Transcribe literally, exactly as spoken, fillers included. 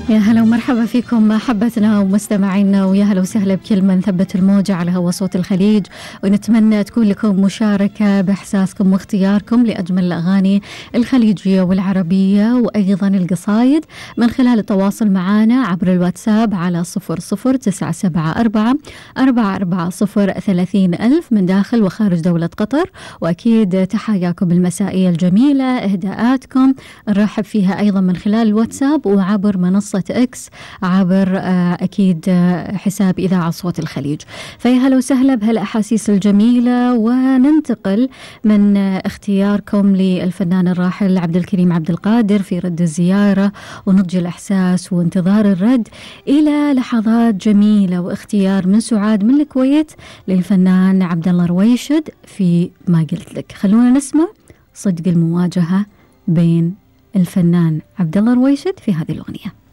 يا هلا ومرحبا فيكم أحبتنا ومستمعينا، ويا هلا وسهلا بكل من ثبت الموجة على هوا صوت الخليج، ونتمنى تكون لكم مشاركة بإحساسكم واختياركم لأجمل الأغاني الخليجية والعربية وأيضا القصايد من خلال التواصل معنا عبر الواتساب على صفر صفر تسعة سبعة أربعة أربعة أربعة صفر ثلاثين ألف من داخل وخارج دولة قطر. وأكيد تحياكم المسائية الجميلة، إهداءاتكم نرحب فيها أيضا من خلال الواتساب وعبر منصة إكس عبر أكيد حساب إذاعة صوت الخليج. فيا هلا وسهلا بهالأحاسيس الجميلة، وننتقل من اختياركم للفنان الراحل عبد الكريم عبد القادر في رد الزيارة ونضج الإحساس وانتظار الرد إلى لحظات جميلة واختيار من سعاد من الكويت للفنان عبد الله رويشد في ما قلت لك. خلونا نسمع صدق المواجهة بين الفنان عبد الله رويشد في هذه الأغنية.